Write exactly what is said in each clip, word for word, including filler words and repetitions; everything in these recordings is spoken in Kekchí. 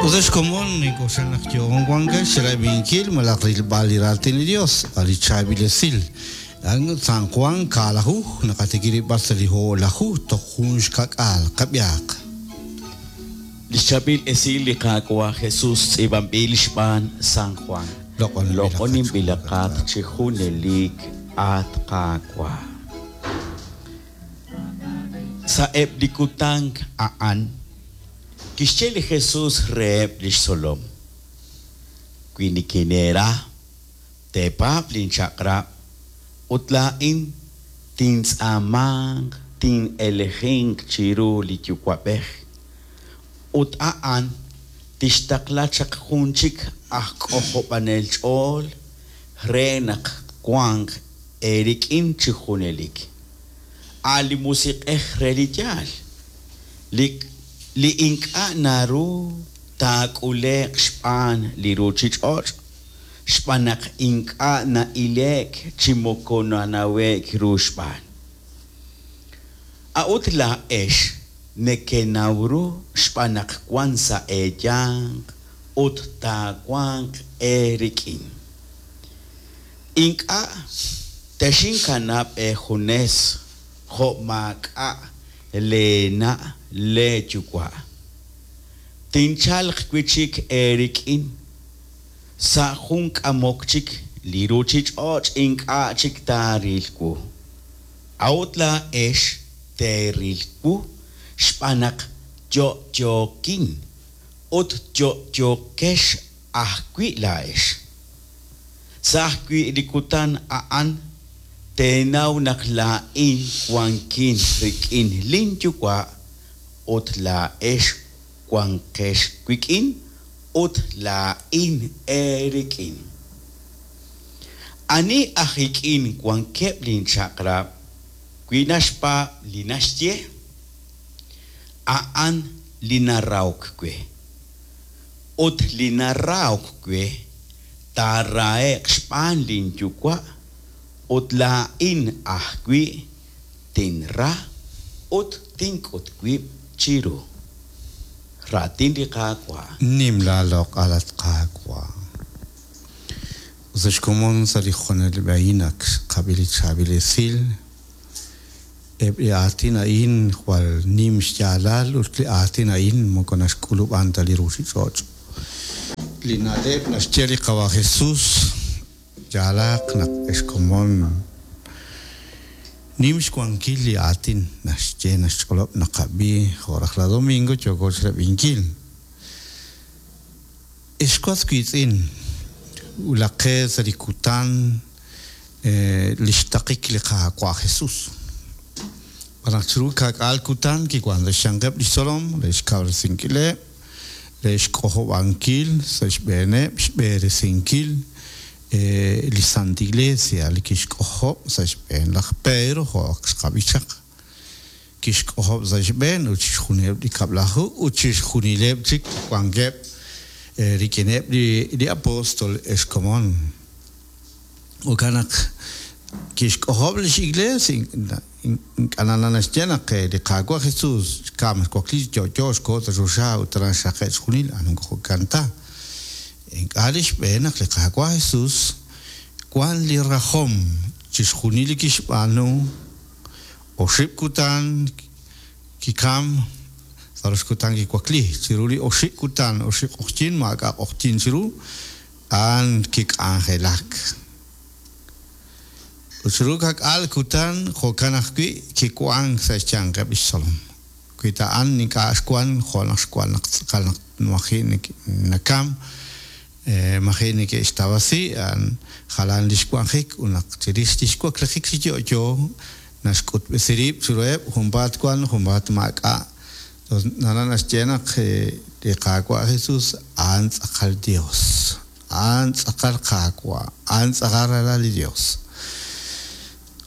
Ut ex komon nink'oxla naq yo'on wankex xrab'inkil malaj rilb'al li raatin li Dios, a' li chaab'il esil. San Juan kaalaju naqatikirib'al sa' li o'laju toj jun xka'k'aal qab'iaq. Li xchaab'il esil li Qaawa' Jesus tz'iib'anb'il xb'aan San Juan. Loq'oninb'ilaqat chi junelik, at Qaawa'. Sa'eb' li kutan a'an kixye li Jesus reheb' li xtzolom: Wi nikineera, teepaab' linchaq'rab' ut laa'in tintz'aamanq tin'elejinq chiru li Yuwa'b'ej, ut a'an tixtaqla chaq jun chik aj k'ojob'anel ch'ool re naq wanq eerik'in chi junelik, a' li Musiq'ej re li yaal, li li ink'a' naru taak'ule'q xb'aan li ruuchich'och', xb'aan naq ink'a' na'ile'k chi moko nanawe'k ru xb'aan. A'ut laa'ex nekenaw ru xb'aan naq wank sa' eeyanq ut taawanq eerik'in. Ink'a' texinkanab' eejunes jo' maak'a' leena' leeyuwa'. Tinchalq wi' chik eerik'in sa' jun k'amok chik li ruuchich'och' ink'a' chik taaril wu. A'ut laa'ex teeril wu xb'aan naq yo'yookin ut yo'yookex ajwi' laa'ex. Sa' ajwi' li kutan a'an teenaw naq laa'in wankin rik'in linyuwa' ut laa'ex wanqex wik'in ut laa'in eerik'in. Ani aj ik'in wankeb' linchaq'rab' wi naxpaab' li naxye, a'an li narahok we. Ut li narahok we taarahe'q xb'aan linyuwa' ut laa'in ajwi' tinra ut tink'ut wib' chiru. Raatin li Qaawa'. Nim laaloq'al, at Qaawa'. Ut ex komon sa' li junelik a'in ak xqab'i li chaab'il esil. Eb' li aatin a'in jwal nim xyaalal ut li aatin a'in moko naxk'ulub'an ta li ruuchich'och'. Li na'leb' naxye li Qawa' Jesus yaalaq naq ex komon nim xwankil li aatin naxye naxch'olob' naqab'i jo' rajlal domingo yooko xrab'inkil. Ex was wiitz'in wulaqe sa' li kutan li xtaqik li Qaawa' Jesus. B'an naq chiru ka'k'aal kutan kiwan sa' xyanqeb' li xtzolom re xkawresinkileb', re xk'ojob'ankil sa' xb'eeneb' xb'eresinkil li Santa Iglesia li kixk'ojob' sa' xb'een laj Pedro jo' ak xqab'i chaq. Kixk'ojob' sa' xb'een ut chixjunileb' li kab'laju ut chixjunileb' chik wankeb' rik'ineb' li apóstol ex komon. Jo'kan naq kixk'ojob' lix iglesia ink'a' naxye naq li Qaawa' Jesus xkam xwakli yo'yo xkoho sa' choxa ut aran xraqe' chixjunil a moko jo'kan ta. Ink'a' li xb'een naq li Qaawa' Jesus wan li rajom chixjunil li kixb'aanu oxib' kutan kikam sa' rox kutan kiwakli chiru li oxib' kutan oxib' q'oqyink maak'a' q'oqyink chiru a'an kik'anjelak. Ut chiru ka'k'aal kutan jo'kan ajwi' kiwank sa' xyanqeb' li xtzolom. Wi ta a'an ink'a' xwan jo' naq xwan naq tz'aqal naq maji' nakam maji' neke'xtawasi a'an jalan li xwanjik ut naq chirix li xwaklijik chi yo'yo naxk'utb'esi rib' chiruheb' junpaat wan junpaat maak'a'. Nara naxye naq li Qaawa' Jesus a'an tz'aqal Dios, a'an tz'aqal Qaawa', a'an tz'aqal ralal li Dios.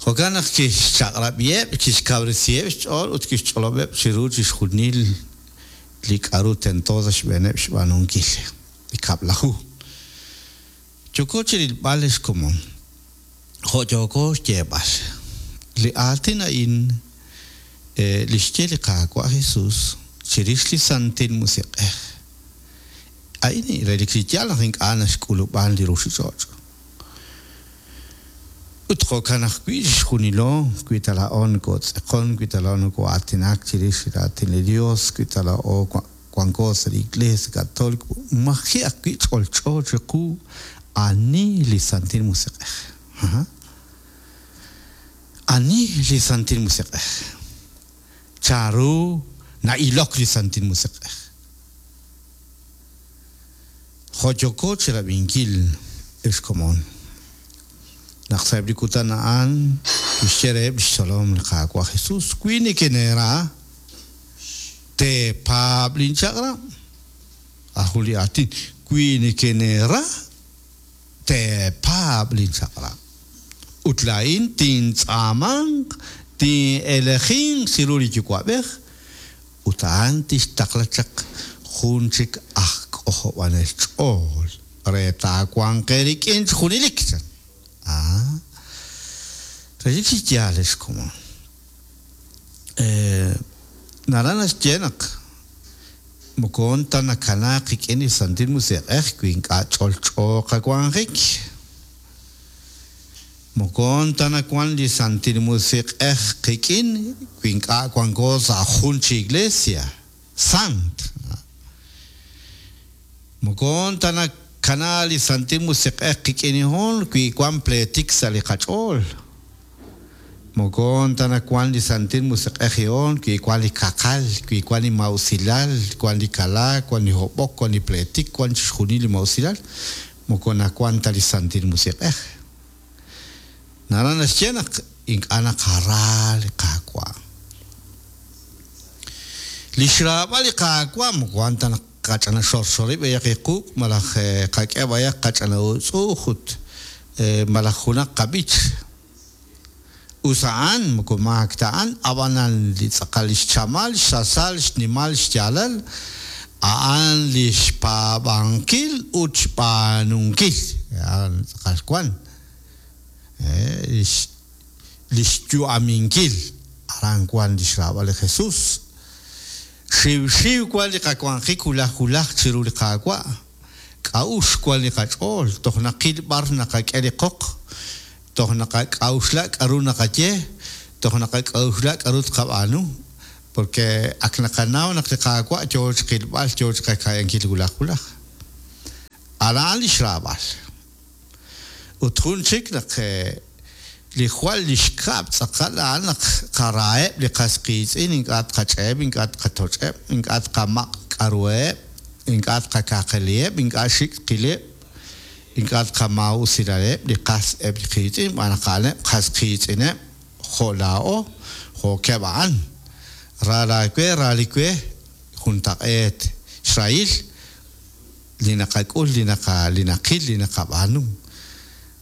Jo'kan naq kixchaq'rab'iheb', kixkawresiheb' xch'ool ut kixch'olob'eb' chiru chixjunil li k'a'ru tento sa' xb'eeneb' xb'aanunkil. Li kab'laju. Yooko chi rilb'al ex komon, jo' yooko xyeeb'al. Li aatin a'in li xye li Qaawa' Jesus chirix li Santil Musiq'ej. A'in relik chi yaal naq ink'a' naxk'ulub'an li ruuchich'och'. Ut jo'kan ajwi' chixjunilo, wi ta laa'o nokootz'eqon, wi ta laa'o nokoo'aatinak chirix li raatin li Dios, wi ta laa'o wanko sa' li Iglesia Católica, maji' ajwi' ch'olch'o chiqu ani li Santil Musiq'ej. Ani li Santil Musiq'ej? Chanru na'ilok li Santil Musiq'ej? Jo' yooko chirab'inkil ex komon. Naq sa'eb' li kutan a'an kixye reheb' li xtzolom li Qaawa' Jesus, wi nekeneera teepaab' linchaq'rab'. Aju li aatin, wi nekeneera teepaab' linchaq'rab'. Ut laa'in tintz'aamanq, tin'elejinq chiru li Yuwa'b'ej, ut a'an tixtaqla chaq jun chik aj k'ojob'anel ch'ool re taawanq eerik'in chi junelik. Ah, relik chi yaal ex komon. Eh, naraj naxye naq moko ta nakanaaq qik'in li Santil Musiq'ej wi ink'a' ch'olch'o qawanjik. Moko ta nawan li Santil Musiq'ej qik'in wi ink'a' wanko sa' jun chi iglesia sant. Moko ta nakana li Santil Musiq'ej qik'in hon wi wan pletik sa' li qach'ool. Moko ta nawan li Santil Musiq'ej hon wi wan li kaqal, wi wan li mausilal, wan li kalaak, wan li hob'ok, wan li pletik, wan chixjunil li mausilal. Moko nawan ta li Santil Musiq'ej. Naraj naxye naq ink'a' naqara li Qaawa'. Li xraab'al li Qaawa' moko wan ta naq qach'ana xorxorib' b'ayaq iquq' malaj qak'e b'ayaq qach'ana utz'uuj ut malaj junaq qab'ich. Us a'an moko maak ta a'an, ab'anan li tz'aqal li xchamal, xsasal, xnimal, xyaalal, a'an li xpaab'ankil ut xb'aanunkil. A'an tz'aqal wan. Li xyu'aminkil aran wan li xraab'al li Jesus. Xiwxiw wan li qawanjik hulaj hulaj chiru li Qaawa'. K'a'ux wan li qach'ool, toj naqil b'ar naqak'e li qoq, toj naqak'a'uxla k'aru naqaye, toj naqak'a'uxla k'aru tqab'aanu, porque ak naqanaw naq li Qaawa' yoo chiqilb'al, yoo chiqaka'yankil hulaj hulaj. Aran li xraab'al. Ut jun chik naq li jwal li xkab' tz'aqal a'an naq qaraeb' li qas qiitz'in, ink'a' tqach'eeb', ink'a' tqatoch'eb', ink'a' tqamaq' k'aruheb', ink'a' tqakaqeliheb', ink'a' xik' qileb', ink'a' tqamaa'usilaleb' li qas eb' li qiitz'in, b'an naq a'aneb' qas qiitz'ineb' jo' laa'o, jo'keb' a'an. Ra laawe, ra li we, juntaq'eet xrahil li naqak'ul, li naqa, li naqil, li naqab'aanu.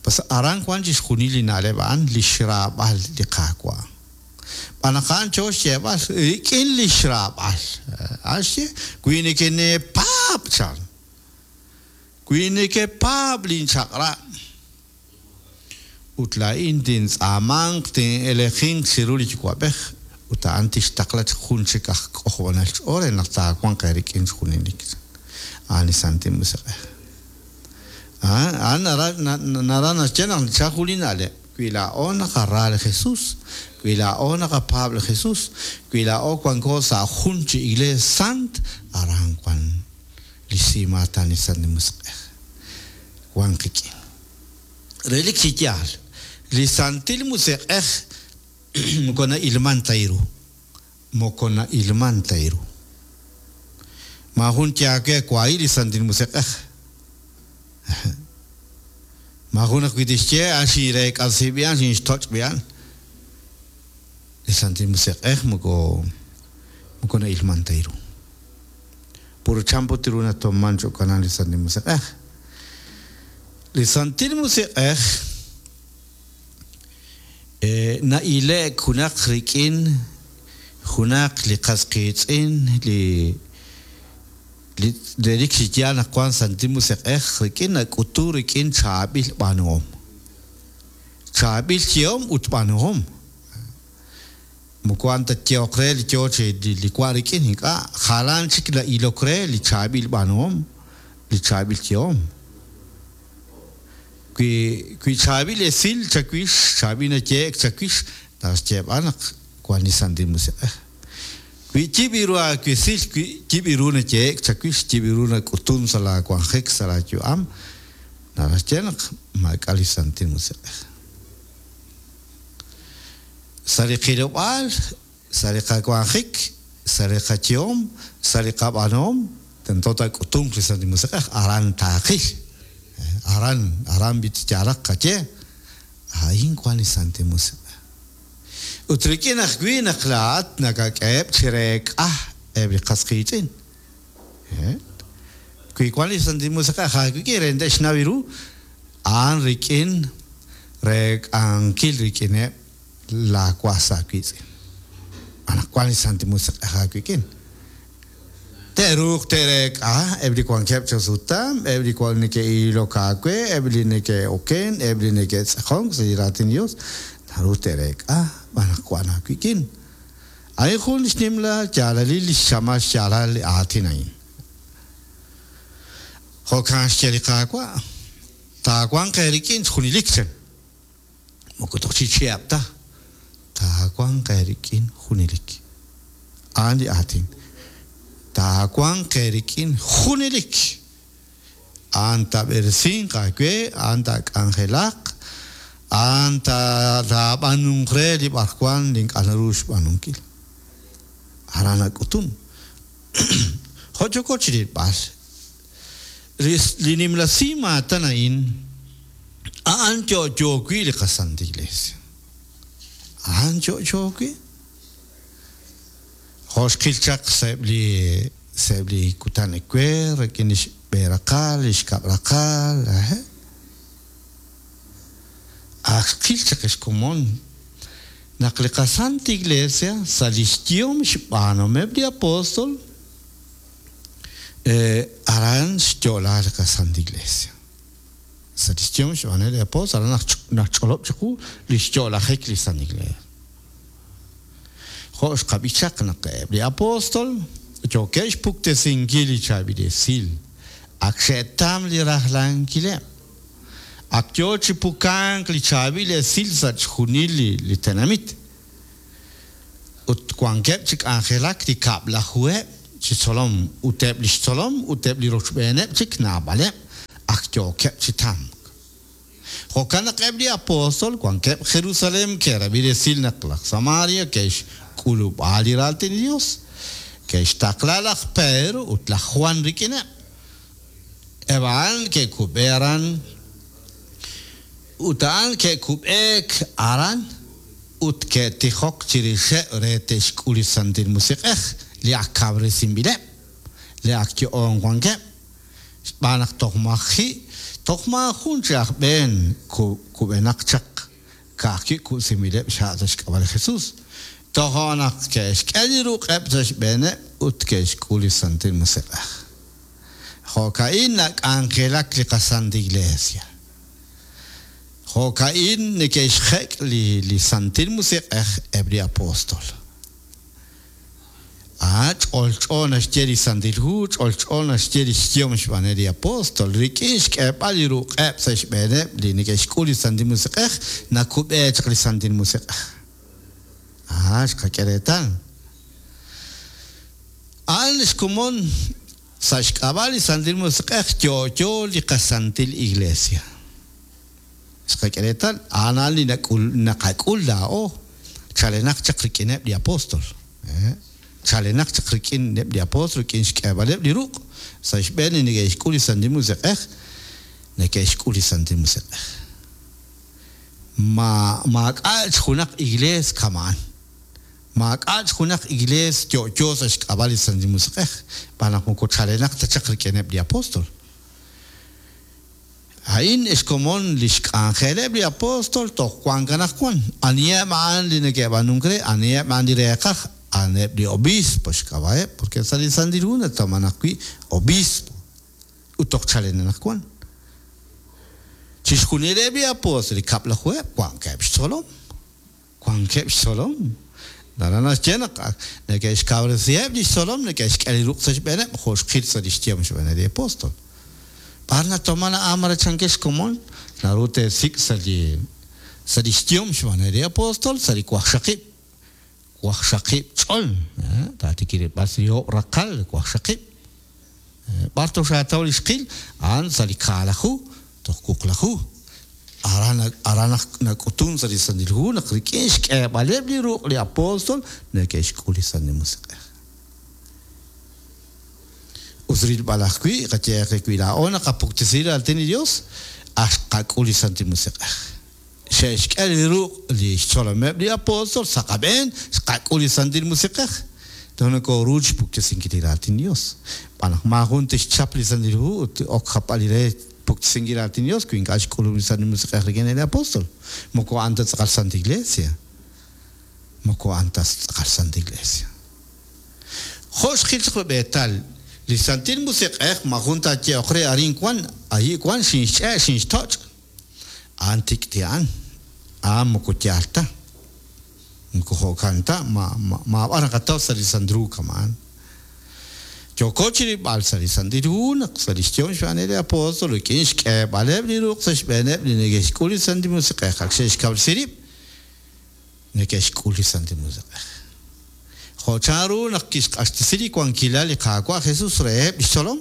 Pues aran wan chixjunil li na'leb' a'an li xraab'al li Qaawa'. B'an naq a'an cho xyeeb'al rik'in li xraab'al. A'an xye, wi nekeneepaab' chan, wi nekepaab' linchaq'rab', ut laa'in tintz'aamanq, tin'elejinq chiru li Yuwa'b'ej, ut a'an tixtaqla jun chik aj k'ojob'anel ch'ool re naq taawanq eerik'in junelik. A'an li Santil Musiq'ej. A'an naraj naxye naq chajun li na'leb', wi laa'o naqara li Jesus, wi laa'o naqapaab' li Jesus, wi laa'o wanko sa' jun chi iglees sant, aran wan li simaatan li Santil Musiq'ej. Wan qik'in. Relik chi yaal, li Santil Musiq'ej moko na'ilman ta ru. Moko na'ilman ta ru. Maajun yaake wahi li Santil Musiq'ej. Maajun ajwi' tixye a'an xinreek'asi b'i'an, xinxtoch' b'i'an. Li Santil Musiq'ej moko moko na'ilman ta ru. Puro champo tiru natoman ch'okanan li Santil Musiq'ej. Li Santil Musiq'ej eh, na'ile'k junaq rik'in junaq li qas qiitz'in li li relik chi yaal naq wan Santil Musiq'ej rik'in nak'utu rik'in chaab'il b'aanuhom. Chaab'il yehom ut b'aanuhom. Moko wan ta yehoq re li yoo chi li wan rik'in ink'a' jalan chik na'ilok re li chaab'il b'aanuhom. li chaab'il yehom. Wi wi chaab'il esil chawix, chaab'il nayehe'k chawix, naraj xyeeb'al naq wank li Santil Musiq'ej. Wi yib' ru aawesil, wi yib' ru nayehe'k chawix, yib' ru nak'utun sa' laawanjik, sa' laayu'am, naraj xye naq maak'a' li Santil Musiq'ej. Sa' li qilob'aal, sa' li qawanjik, sa' li qayehom, sa' li qab'aanuhom, tento taak'utunq li Santil Musiq'ej, aran taaqil. Aran, aran b'it yaalaq qaye, a'in wank li Santil Musiq'ej. Ut rik'in ajwi' naq laa'at nakak'eheb' chi reek'a eb' li qas qiitz'in. Wi wank li Santil Musiq'ej aawik'in re te'xnaw ru, a'an rik'in reek'ankil rik'ineb' laawas aawiitz'in. Anaqwan li Santil Musiq'ej aawik'in. Te'ruuq te'reek'a eb' li wankeb' chasutam, eb' li wan neke'ilok aawe, eb' li neke'oken, eb' li neke'tz'aqonk sa' li raatin Dios, naru te'reek'a anaqwan aawik'in. A'in jun xnimla yaalalil li xchamal xyaalal li aatin a'in. Jo'kan xye li Qaawa', taawanq eerik'in junelik chan. Moko toj chi chihab' ta, taawanq eerik'in junelik. A'an li aatin. Taawanq eerik'in junelik. A'an taab'eresinq aawe, a'an taak'anjelaq, a'an taab'anunq re li b'arwan li ink'a' naru xb'aanunkil. Aran nak'utun. Jo' yooko chi rilb'al, li nimla simaatan a'in, a'an yo'yo wi' li qaSanta Iglesia. A'an yo'yo wi'. Jo' xqil chaq sa'eb' li sa'eb' li kutan ewer, rik'in li xb'e raqal, li xkab' raqal, ak xqil chaq xkomon naq li qaSanta Iglesia sa' li xyehom xb'aanuhomeb' li apóstol, aran xyo'la li qaSanta Iglesia. Sa' li xyehom xb'aanuhomeb' li apóstol, aran naq ch'olob' chiqu li xyo'lajik li Santa Iglesia. Jo' xqab'i chaq naq eb' li apóstol yookeb' xpuktesinkil li chaab'il esil, ak xe'tam li rajlankileb', ak yoo chi pukank li chaab'il esil sa' chixjunil li, li tenamit. Ut wankeb' chi k'anjelak li kab'lajuheb' chi tzolom, ut eb' li xtzolom, ut eb' li rochb'eeneb' chik naab'aleb', ak yookeb' chi tamk. Jo'kan naq eb' li apóstol wankeb' Jerusalem ke'rab'i resil naq laj Samaria ke'xk'ulub'a li raatin li Dios, ke'xtaqla laj Pedro ut laj Juan rik'ineb'. Eb' a'an ke'kub'e aran, ut a'an ke'kub'eek aran, ut ke'tijok chirixeb' re te'xk'ul li Santil Musiq'ej, li ak kawresinb'ileb', li ak yo'on wankeb', xb'aan naq toj maji', toj maajun chi aj b'een kub'enaq chaq, ka'ajwi' kub'sinb'ileb' xha' sa' xk'ab'a' li Jesus. Tojo' naq ke'xk'e li ruq'eb' sa' xb'eeneb' ut ke'xk'ul li Santil Musiq'ej. Jo'ka'in nak'anjelak li qaSanta Iglesia. Jo'ka'in neke'xjek' li, li Santil Musiq'ej eb' li apóstol. Ah, ch'olch'o naxye li Santil Hu, ch'olch'o naxye li xyehom xb'aaneb' li apóstol. Rik'in xk'eeb'al li ruq'eb' sa' xb'eeneb' li neke'xk'ul li Santil Musiq'ej, nakub'e chaq li Santil Musiq'ej. Ah, xqak'e reetal. A'an xkomon sa' xk'ab'a' li Santil Musiq'ej yo'yo li qaSantil Iglesia. Xqak'e reetal, a'an a'an li nak'ul, naqak'ul laa'o, chalenaq chaq rik'ineb' li apóstol. Chalenaq chaq rik'ineb' li apóstol, rik'in xk'eeb'aleb' li ruq' sa' xb'een li neke'xk'ul li Santil Musiq'ej, neke'xk'ul li Santil Musiq'ej. Ma maak'a' junaq iglees kama'an. Maak'a' junaq iglees yo'yo sa' xk'ab'a' li Santil Musiq'ej, xb'aan naq moko chalenaq ta chaq rik'ineb' li apóstol. A'in xkomon li xk'anjeleb' li apóstol toj wank anaqwan. Aniheb' a'an li neke'b'aanunk re, aniheb' a'an li reeqaj, a'aneb' li obispo xk'ab'a'eb', porque sa' li Santil Hu natawman ajwi' obispo, ut toj chalen anaqwan. Chixjunileb' li apóstol li kab'lajuheb' wankeb' xtzolom, wankeb' xtzolom. Naraj naxye naq neke'xkawresiheb' li xtzolom, neke'xk'e li ruq' sa' xb'eeneb', jo' xqil sa' li xyehom xb'eeneb' li apóstol. B'ar natoman a'an mare chankex xkomon, naru teesik' sa' li sa' li xyehom xb'aan li apóstol sa' li waqxaqib' waqxaqib' ch'ol, taatikirib'al sa' li oob' raqal waqxaqib'. B'ar toxaataw li xqil, a'an sa' li kaalaju toj wuqlaju. Aran aran nak'utun sa' li Santil Hu naq rik'in xk'eeb'aleb' li ruq' li apóstol neke'xk'ul li Santil Musiq'ej. Us rilb'al ajwi' qayeeq wi laa'o naqapuktesi raatin li Dios, aj xqak'ul li Santil Musiq'ej. Xe'xk'e li ruq' li xtzolomeb' li apóstol sa' qab'een, xqak'ul li Santil Musiq'ej. Toj nokoru xpuktesinkil li raatin Dios. B'an naq maajun tixchap li Santil Hu ut ok jap'al li re puktesinkil raatin Dios wi ink'a' xk'ulub' li Santil Musiq'ej rik'in li apóstol. Moko a'an ta tz'aqal Santa Iglesia. Moko a'an ta tz'aqal Santa Iglesia. Jo' xqil chaq rub'eetal li Santil Musiq'ej maajun taaye'oq re arin wan, ayi wan xinxch'e' xinxtoch'. A'an tik'ti a'an. A'an moko yaal ta. Moko jo'kan ta, ma maab'ar naqataw sa' li Santil Hu kama'an. Yooko chirib'al sa' li Santil Hu naq sa' li xyehom xb'aan li apóstol rik'in xk'eeb'aleb' li ruq' sa' xb'eeneb' li neke'xk'ul li Santil Musiq'ej ak xe'xkawresi rib' neke'xk'ul li Santil Musiq'ej. Jo' chanru naq kixq'axtesi li wankilal li Qaawa' Jesus reheb' li xtzolom,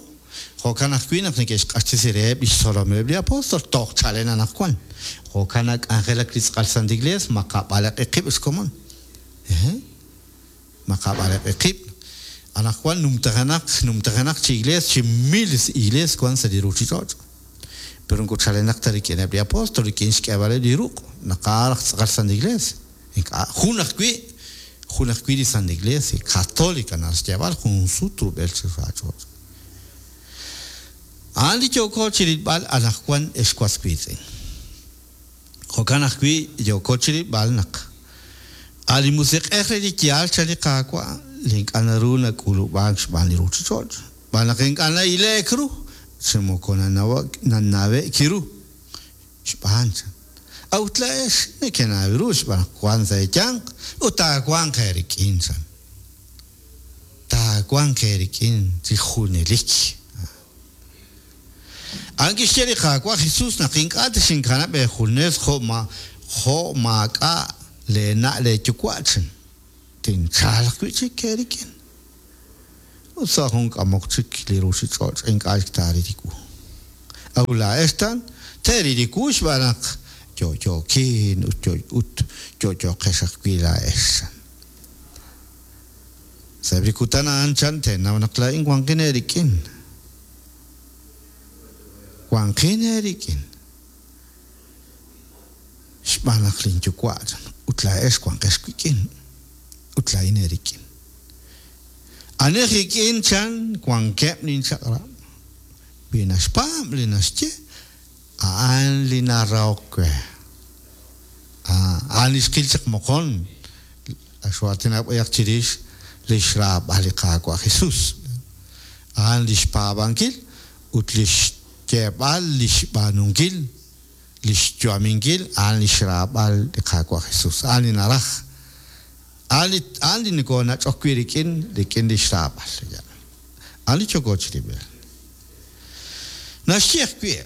jo'kan ajwi' naq neke'xq'axtesi reheb' li xtzolomeb' li apóstol toj chalen anaqwan. Jo'kan nak'anjelak li tz'aqal Santa Iglesia maqab'alaq'i qib' xkomon. Maqab'alaq'i qib'. Anaqwan numtajanaq numtajanaq chi iglesia chi miles iglesia wan sa' li ruuchich'och'. Pero moko chalenaq ta rik'ineb' li apóstol rik'in xk'eeb'aleb' li ruq' naqaaraj tz'aqal Santa Iglesia. Ink'a' jun ajwi' jun ajwi' li Santa Iglesia católica naxyeeb'al jun sut rub'el chi raach'och'. A'an li yooko chirilb'al anaqwan ex was wiitz'in. Jo'kan ajwi' yooko chirilb'al naq a' li Musiq'ej re li yaal chan li Qaawa' li ink'a' naru nak'ulub'aak xb'aan li ruuchich'och'. Xb'aan naq ink'a' na'ile'k ru, chi moko nanawe'k ru xb'aan chan. A'ut laa'ex nekenaw ru xb'aan naq wan sa' eeyanq ut taawanq eerik'in chan. Taawanq eerik'in chi junelik. A'an kixye li Qaawa' Jesus naq ink'a' texinkanab' eejunes jo' ma jo' maak'a' leena' leeyuwa' chan. Tinchalq wi' chik eerik'in. Ut sa' jun k'amok chik li ruuchich'och' ink'a' chik taaril li wu. A'ut laa'ex tan teeril li wu xb'aan naq yo'yo'kin ut ut yo'yo'qex ajwi' laa'ex chan. Sa' li kutan a'an chan teenaw naq laa'in wanqin eerik'in. Wanqin eerik'in. Xb'aan naq linyuwa' chan ut laa'ex wanqex wik'in. Ut laa'in eerik'in. Anej rik'in chan wankeb' linchaq'rab'. Wi naxpaab' li naxye, a'an li narahok we. A'an li xqil chaq moqon. Axwaatinaq b'ayaq chirix li xraab'al li Qaawa' Jesus. A'an li xpaab'ankil ut li xyeeb'al li xb'aanunkil, li xyu'aminkil, a'an li xraab'al li Qaawa' Jesus. A'an li naraj. A'an li nokonach'ok wi' rik'in rik'in li xraab'al. A'an li yooko chirib'al. Naxye ajwi'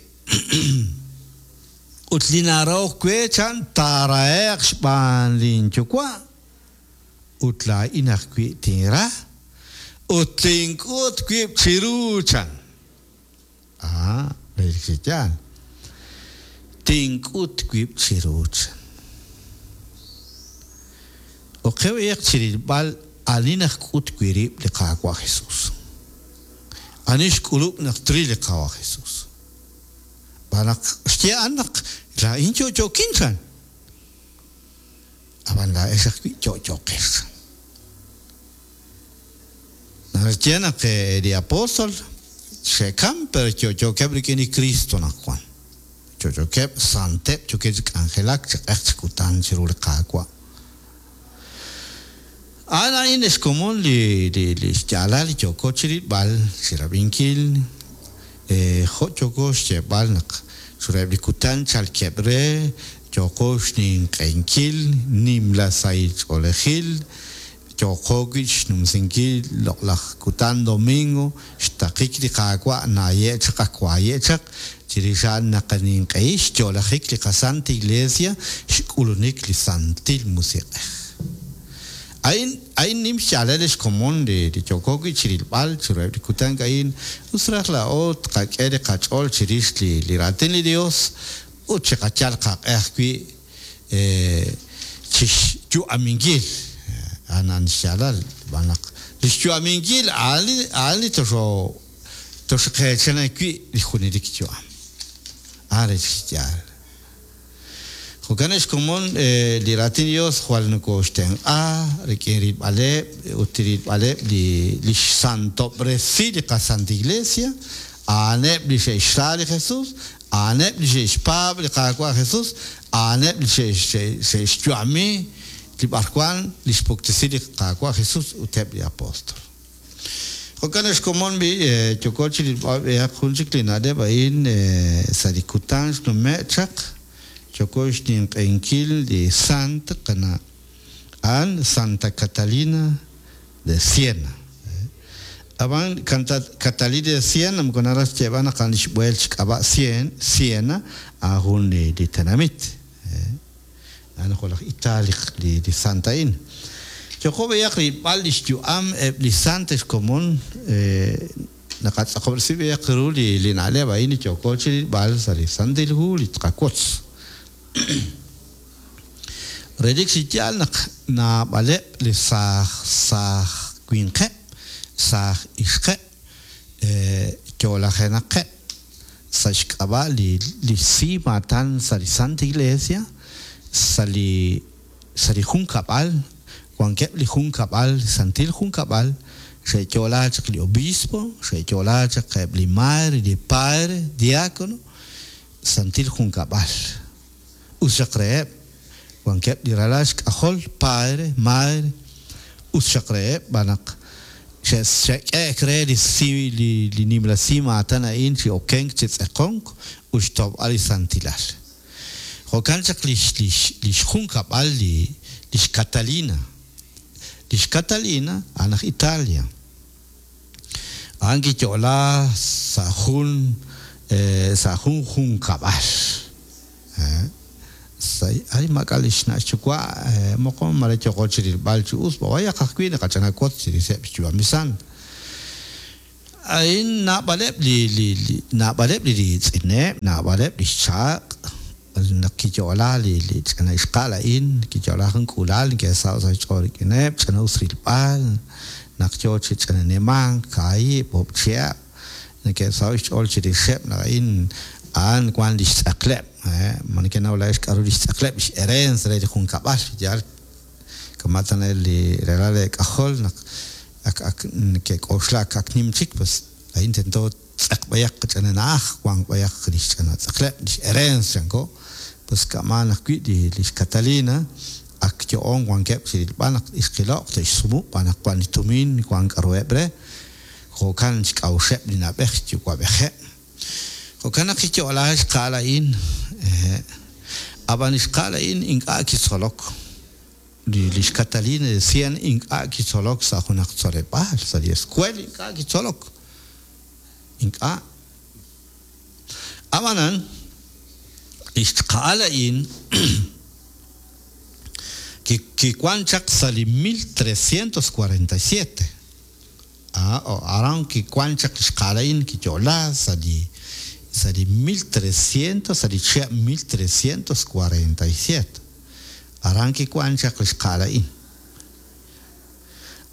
ut li narahok we chan taarahe'q xb'aan linyuwa' ut laa'in ajwi' tinra ut tink'ut wib' chiru chan. Ah, relik chi yaal. Tink'ut wib' chiru chan. Oqew chirilb'al ani najk'ut wi' rib' li Qaawa' Jesus. Ani xk'ulub' naq tril li Qaawa' Jesus. B'an naq xye a'an naq laa'in yo'yo'kin chan. Ab'an laa'ex ajwi' yo'yo'qex chan. Naxye naq li apóstol xe'kam pero yo'yo'keb' rik'in li Cristo naq wan. Yo'yo'keb' santeb' yookeb' chi k'anjelak chi q'eq chi kutan chiru li Qaawa'. A'an a'in xkomon li li li xyaalal li yooko chirilb'al chirab'inkil jo' yooko xyeeb'al naq chireb' li kutan chalkeb' re yooko xninq'enkil nimla sahil ch'oolejil yooqo wi' xnumsinkil loq'laj kutan domingo xtaqik li Qaawa' naaye' chaq ak waaye' chaq chirix a'an naqaninq'ehi xyo'lajik li qaSanta Iglesia xk'ulunik li Santil Musiq'ej. A'in a'in nim xyaalal li xkomon li li yooko wi' chirilb'al chiruheb' li kutan a'in us raj laa'o tqak'e li qach'ool chirix li li raatin li Dios ut chiqayal qaq'e ajwi' chixyu'aminkil a'an xyaalal xb'aan naq li xyu'aminkil a'an li a'an li toxo toxqeechana wi' li junelik yu'am a'an rech xyaal. Jo'kan xkomon li raatin Dios jwal nokoxtenq'a rik'in rilb'aleb' ut rilb'aleb' li li xsantob'resi li qaSanta Iglesia a'aneb' li xe'xra li Jesus a'aneb' li xe'xpaab' li Qaawa' Jesus a'aneb' li xe'xyu'ami li b'arwan li xpuktesi li Qaawa' Jesus ut eb' li apóstol. Jo'kan xkomon bi yooko chi rilb'al b'ehaq jun chik li na'leb' a'in sa' li kutan xnume' chaq yooko xninq'ehinkil li sant qana' a'an Santa Catalina de Siena. Ab'an Catalina de Siena moko naraj xyeeb'al naq a'an li xb'eel xk'ab'a' Sien Siena a'an jun li li tenamit a'an jo' laj Italia li li sant a'in. Yooko b'ehaq rilb'al li xyu'am eb' li sant xkomon naqatz'aqob'resi b'ehaq ru li li na'leb' a'in li yooko chi rilb'al sa' li Santil Hu li tqawotz. Relik chi yaal naq naab'aleb' li saaj saaj winqeb' saaj ixqeb' yo'lajenaqeb' sa' xk'ab'a' li li si maatan sa' li Santa Iglesia sa' li sa' li junkab'al wankeb' li junkab'al santil junkab'al xe'yo'la chaq li obispo xe'yo'la chaq eb' li madre li padre diácono santil junkab'al us xaq reheb' wankeb' li ralal xk'ajol padre madre us xaq reheb' b'an naq xe'k'e'ek re li si li li nimla si maatan a'in chi okenk chi tz'eqonk ut xtob'al li santilal. Jo'kan chaq li li li xjunkab'al li lix Catalina lix Catalina a'an aj Italia a'an kiyo'la sa' jun sa' jun junkab'al ay maak'a' li xna' xyuwa' moqon mare yooko chi rilb'al chi us b'ayaq ajwi' naqach'anawotz chiriseb' xyu'am li sant. A'in naab'aleb' li li li naab'aleb' li riitz'ineb' naab'aleb' li xchaaq' naq kiyo'la li li ch'ina ixqa'al a'in kiyo'la jun k'uula'al neke'saho' sa' xch'ool rik'ineb' ch'ina us rilb'al naq yoo chi ch'ina nimank kaahib' oob' chihab' neke'saho' xch'ool chirixeb' naq a'in a'an wan li xtz'aqleb' ma nekenaw laa'ex k'a'ru li xtz'aqleb' li xherencia re li junkab'al yaal kama' tana li ralal k'ajol naq ak ak neke'k'oxla ak ak nim chik pues a'in tento tz'aq b'ayaq ch'ina na'aj wan b'ayaq li xch'ina tz'aqleb' li xherencia chanko pues k'aman ajwi' li lix Catalina ak yo'on wankeb' chi rilb'al naq ixqilo'q te'xsumu' b'an naq wan li tumin wan k'a'ruheb' re jo'kan xk'a'uxeb' li na'b'ej yuwa'b'ejeb'. Jo'kan naq kiyo'la xqa'al a'in ab'an li xqa'al a'in ink'a' kitzolok li lix Catalina de Siena ink'a' kitzolok sa' junaq tzoleb'aal sa' li escuela ink'a' kitzolok ink'a' ab'anan li xqa'al a'in kiwan chaq sa' li mil trescientos cuarenta y siete aran kiwan chaq li xqa'al a'in kiyo'la sa' li sa' li mil trescientos sa' li chihab' mil trescientos cuarenta y siete aran kiwan chaq li xqa'al a'in.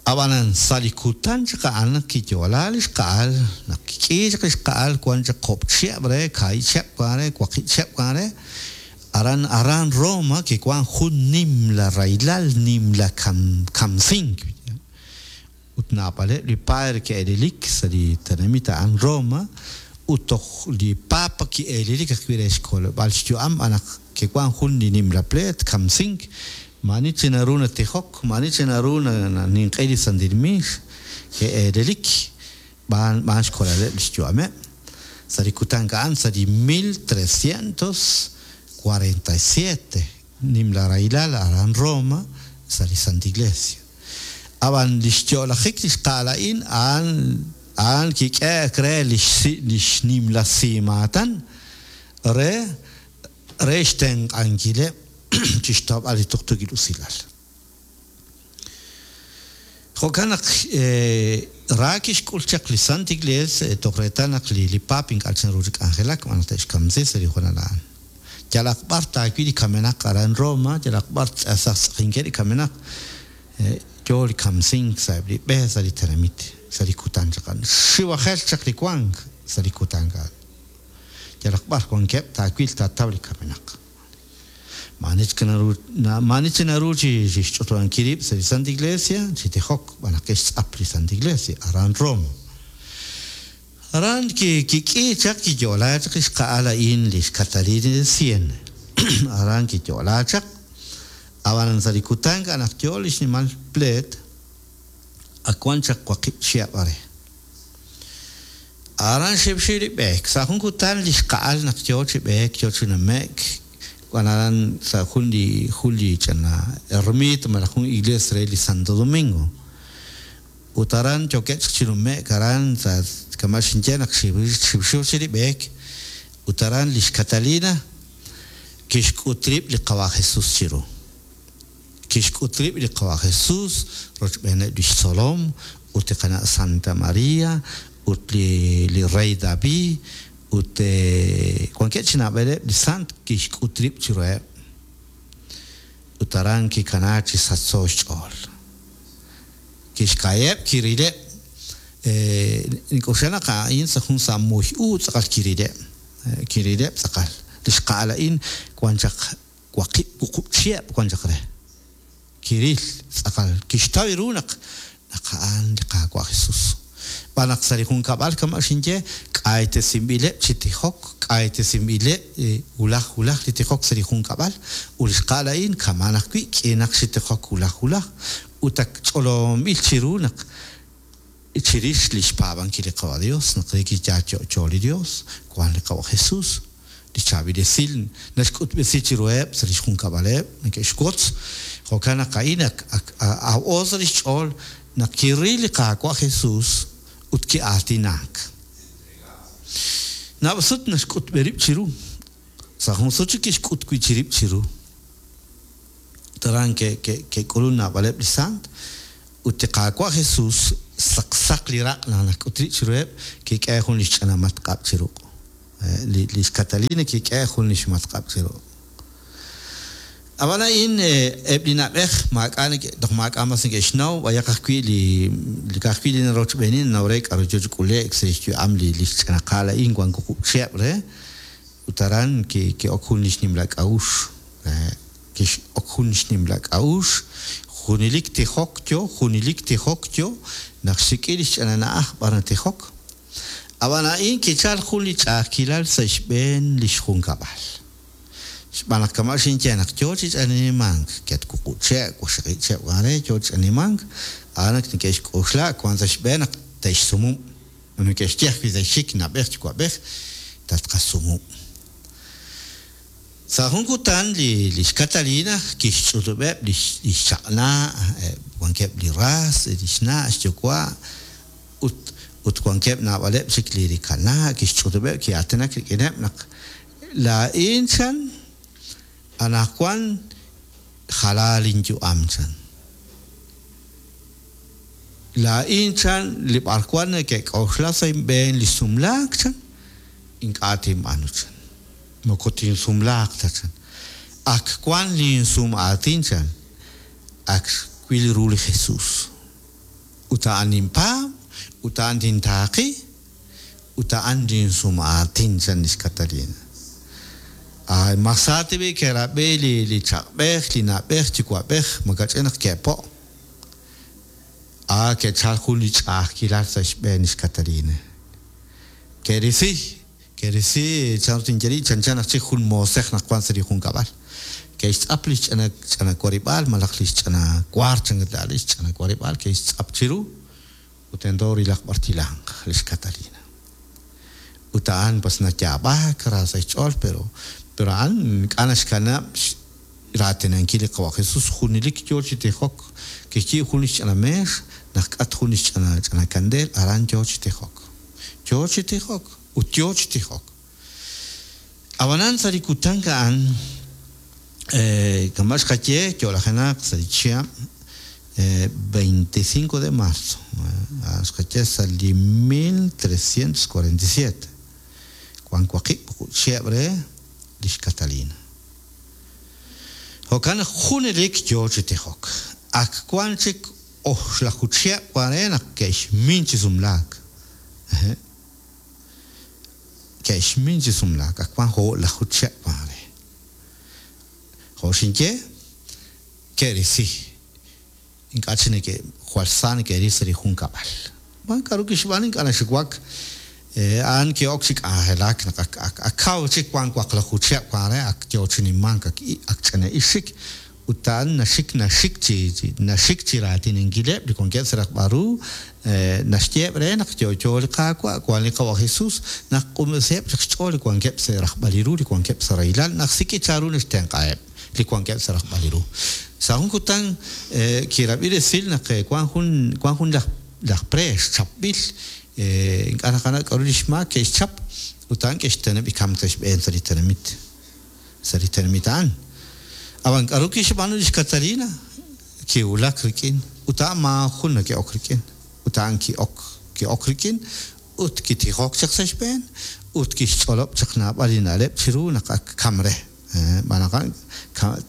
Ab'anan sa' li kutan chaq a'an kiyo'la li xqa'al naq kik'i chaq li xqa'al wan chaq job' chihab' re kaahib' chihab' wan re waqib' chihab' wan re aran aran Roma kiwan jun nimla rahilal nimla kam kamsink ut naab'aleb' li padre ke'elilik sa' li tenamit a'an Roma ut toj li papa ki'elilik ajwi' re xkolb'al xyu'am b'an naq kiwan jun li nimla pleet kamsink maani chi naru natijok maani chi naru ninq'e li santil miix ke'elilik b'an b'an xkolaleb' li xyu'ameb' sa' li kutan a'an sa' li mil trescientos cuarenta y siete nimla rahilal aran Roma sa' li Santa Iglesia. Ab'an li xyo'lajik li xqa'al a'in a'an a'an kik'e'ek re li li xnimla simaatan re re xtenq'ankileb' chi xtawb'al li tuqtuukil usilal. Jo'kan naq ra kixk'ul chaq li Santa Iglesia toj reetal naq li li Papa ink'a' chanru chi k'anjelak b'an naq te'xkamsi sa' li hoonal a'an. Yalaq b'ar taawil li kamenaq aran Roma, yalaq b'ar tz'asaj tz'ajinkeb' li kamenaq yo li kamsink sa' eb' li b'e sa' li tenamit sa' li kutan chaq a'an. Xiwajel chaq li wank sa' li kutan a'an. Yalaq b'ar wankeb' taawil taataw li kamenaq. Maani chik naru maani chik naru chi xch'utub'ankil rib' sa' li Santa Iglesia chi tijok b'an naq ke'xtz'ap li Santa Iglesia aran Roma. Aran ki kik'i chaq kiyo'la chaq li xqa'al a'in li xCatarina de Siena. Aran kiyo'la chaq ab'an sa' li kutan naq yo li xnimal pleet ak wan chaq waqib' chihab' are. Aran xib'xib' li b'eek sa' jun kutan li xqa'al naq yo chi b'eek yo chi nume'k wan aran sa' jun li jun li ch'ina ermita malaj jun iglesia re li Santo Domingo. Ut aran yokeb' chaq chi nume'k aran sa' kama' xinye naq xib'xib' chi li b'eek ut aran li xCatalina kixk'ut rib' li Qawa' Jesus chiru. Kixk'ut rib' li Qawa' Jesus rochb'eeneb' li xtzolom ut li qana' Santa Maria ut li li rey David ut wankeb' chi naab'aleb' li sant kixk'ut rib' chiruheb'. Ut aran kikanaak chi sachso xch'ool. Kixka'yeb' kirileb' nink'oxla naq a'in sa' jun sa' muy u tz'aqal kirileb'. Kirileb' tz'aqal. Li xqa'al a'in wan chaq waqib' wuqub' chihab' wan chaq re. Kiril tz'aqal kixtaw ru naq naq a'an li Qaawa' Jesus. B'an naq sa' li junkab'al kama' xinye k'aytesinb'ileb' chi tijok, k'aytesinb'ileb' wulaj wulaj li tijok sa' li junkab'al ut li xqa'al a'in kama'an ajwi' k'iinaq chi tijok wulaj wulaj ut ak ch'olomb'il chiru naq chirix li xpaab'ankil li Qawa' Dios naq re kiyaal yo'yo li Dios wan li Qawa' Jesus li chaab'il esil naxk'utb'esi chiruheb' sa' li xjunkab'aleb' neke'xwotz jo'kan naq a'in ak aw'o sa' li xch'ool naq kiril li Qaawa' Jesus ut ki'aatinak. Naab'al sut naxk'utb'e rib' chiru. Sa' jun sut chik kixk'ut wi' chi rib' chiru. Ut aran ke'k'ulun naab'aleb' li sant ut li Qaawa' Jesus saqsaq li raq' naq naxk'ut rib' chiruheb' kik'e jun li xch'ina matq'ab' chiru. Li li xCatalina kik'e jun li xmatq'ab' chiru. Ab'an a'in eb' li na'b'ej maak'a' toj maak'a' mas neke'xnaw b'ayaq ajwi' li li ka'ajwi' li narochb'eenin naw re k'aru yo chi k'ule'k sa' xyu'am li li xch'inaqal a'in wan wuqub' chihab' re ut aran ki'ok jun li xnimla k'a'uxl kix'ok jun xnimla k'a'uxl junelik tijok yo junelik tijok yo naq xsik'i li xch'ina na'aj b'ar natijok. Ab'an a'in kichal jun li ch'a'ajkilal sa' xb'een li xjunkab'al. Xb'aan naq kama' xinye naq yo chi ch'animank ket wuqub' che' waqxaqib' che' wan re yo chi ch'animank a'an naq neke'xk'oxla wan sa' xb'een naq te'xsumub'. Neke'xye ajwi' sa' xxik na'b'ej yuwa'b'ej tatqasumub'. Sa' jun kutan li li xCatalina kixch'utub'eb' li li xchaq'na' wankeb' li ras li xna' xyuwa' ut ut wankeb' naab'aleb' chik li rikana' kixch'utub'eb' ki'aatinak rik'ineb' naq laa'in chan anaqwan jalal inyu'am chan. Laa'in chan li b'arwan neke'k'oxla sa' inb'een li sumlaak chan ink'a' tinb'aanu chan. Moko tinsumlaaq ta chan. Ak wan linsum'aatin chan ak xwil ru li Jesus. Ut a'an ninpaab' ut a'an tintaaqi ut a'an linsum'aatin chan li xCatalina. Ay, masati b'i ke'rab'i li li chaq'b'ej, li na'b'ej, yuwa'b'ej makach'in naq ke'po'. Ah, ke'chal jun li ch'a'ajkilal sa' xb'een li xCatalina. Ke'risi, ke'risi chan tinye chanchan naq chik jun moosej naq wan sa' li junkab'al. Ke'xtz'ap li xch'ina ch'ina warib'aal malaj li xch'ina waar chan li xch'ina warib'aal ke'xtz'ap chiru ut tento rilaq b'ar tilanq li xCatalina. Ut a'an pues nayaab'ak ra sa' xch'ool pero pero a'an ink'a' naxkanab' raatinankil li Qawa' Jesus, junelik yo chi tijok, kixyiib' jun li xch'ina meex, naq k'at jun li xch'ina ch'ina kandeel, aran yo chi tijok. Yo chi tijok ut yo chi tijok. Ab'anan sa' li kutan a'an kama' xqaye yo'lajenaq sa' li chihab' veinticinco de marzo, xqaye sa' li mil trescientos cuarenta y siete, wan waqib' chihab' re lix Catalina. Jo'kan naq junelik yo chi tijok. Ak wan chik oxlaju chihab' wan re naq ke'xmin chi sumlaak. Ke'xmin chi sumlaak, ak wan o'laju chihab' wan re. Jo' xinye, ke'risi. Ink'a' chi neke' jwal sa neke'ril sa' li junkab'al. Wan k'a'ru kixb'aanu ink'a' naxuwak, a'an ki'ok chi k'anjelak naq ak ak ak kaw chik wan waqlaju chihab' wan re, ak yo chi nimank, ak ak ch'ina'ix chik, ut a'an naxik naxik chi naxik chi raatinankileb' li wankeb' sa' rajb'al ru, naxyeeb' re naq yo'yo li Qaawa', wan li Qawa' Jesus, naq q'unb'esiheb' chaq xch'ool li wankeb' sa' rajb'al ru, li wankeb' sa' rahilal, naq sik'i chanru naxtenq'aheb' li wankeb' sa' rajb'al ru. Sa' jun kutan kirab'i resil naq wan jun wan jun laj laj preex chapb'il, ink'a' naqanaw k'a'ru li xmaak ke'xchap, ut a'an ke'xteneb' li kamk sa' xb'een sa' li tenamit, sa' li tenamit a'an. Ab'an k'a'ru kixb'aanu lix Catalina? Kiwulak rik'in, ut a'an maajun nake'ok rik'in, ut a'an ki'ok ki'ok rik'in, ut kitijok chaq sa' xb'een, ut kixch'olob' chaq naab'al li na'leb' chiru naq ak kam re. B'an naq a'an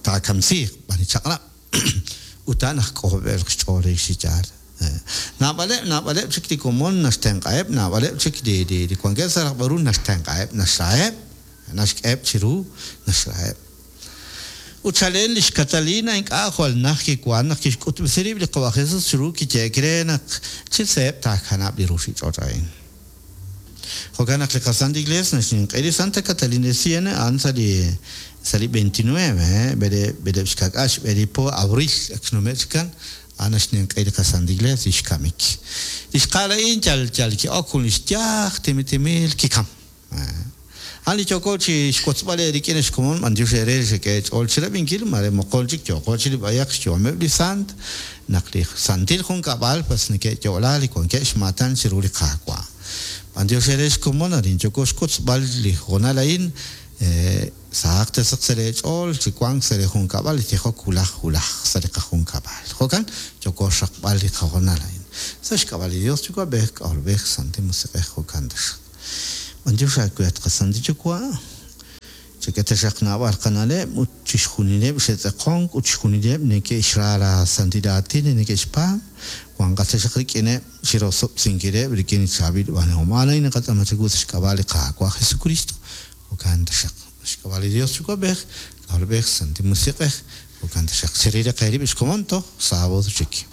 taakamsiiq b'an li chaq'rab'. Ut a'an aj k'ojob'el xch'ool re xi yaal. Naab'aleb' naab'aleb' chik li komon naxtenq'aheb', naab'aleb' chik li li li wankeb' sa' rajb'al ru naxtenq'aheb', naxraheb', naxk'eheb' chiru, naxraheb'. Ut chalen lix Catalina ink'a' jwal naj kiwan naq kixk'utb'esi rib' li Qawa' Jesus chiru kiyeek re naq chi seeb' taakanab' li ruuchich'och' a'in. Jo'kan naq li qaSanta Iglesia naxninq'e li Santa Catalina de Siena a'an sa' li sa' li veintinueve, b'ele b'eleb' xka'k'aal xb'e li po abril ak xnume' chikan, a'an naxninq'e li qaSanta Iglesia xkamik. Li xqaal a'in yal yal ki'ok jun li xyaaj timil timil kikam. A'an li yooko chi xwotzb'al eerik'in xkomon b'antiox eere xek'e ch'ool chirab'inkil, mare moqon chik yooko chi li b'ayaq xyu'ameb' li sant, naq li santil junkab'al pues neke'yo'la li wankeb' xmaatan chiru li Qaawa'. B'antiox eere xkomon arin yooko xwotzb'al li hoonal a'in, sahaq tasaq sa' leech'ool chi wank sa' li junkab'al li tijok wulaj wulaj sa' li qajunkab'al. Jo'kan yooko xraqb'al li qahoonal a'in. Sa' xk'ab'a' li Dios Yuwa'b'ej, K'ajolb'ej, Santil Musiq'ej, jo'kan taxaq. B'antiox aawe at qaSantil Yuwa', chek'e taxaq naab'al qana'leb' ut chixjunileb' xe'tz'eqonk ut chixjunileb' neke'xra la santil aatin li neke'xpaab', wanqat taxaq rik'ineb' chirosob'sinkileb' rik'in li chaab'il b'aanuhom. A'an a'in naqatz'aama chawu sa' xk'ab'a' li Qaawa' Jesucristo. Jo'kan taxaq. Xk'ab'a' li Dios Yuwa'b'ej, K'ajolb'ej, Santil Musiq'ej, jo'kan taxaq. Cheril qeerib' xkomon toj sábado chik.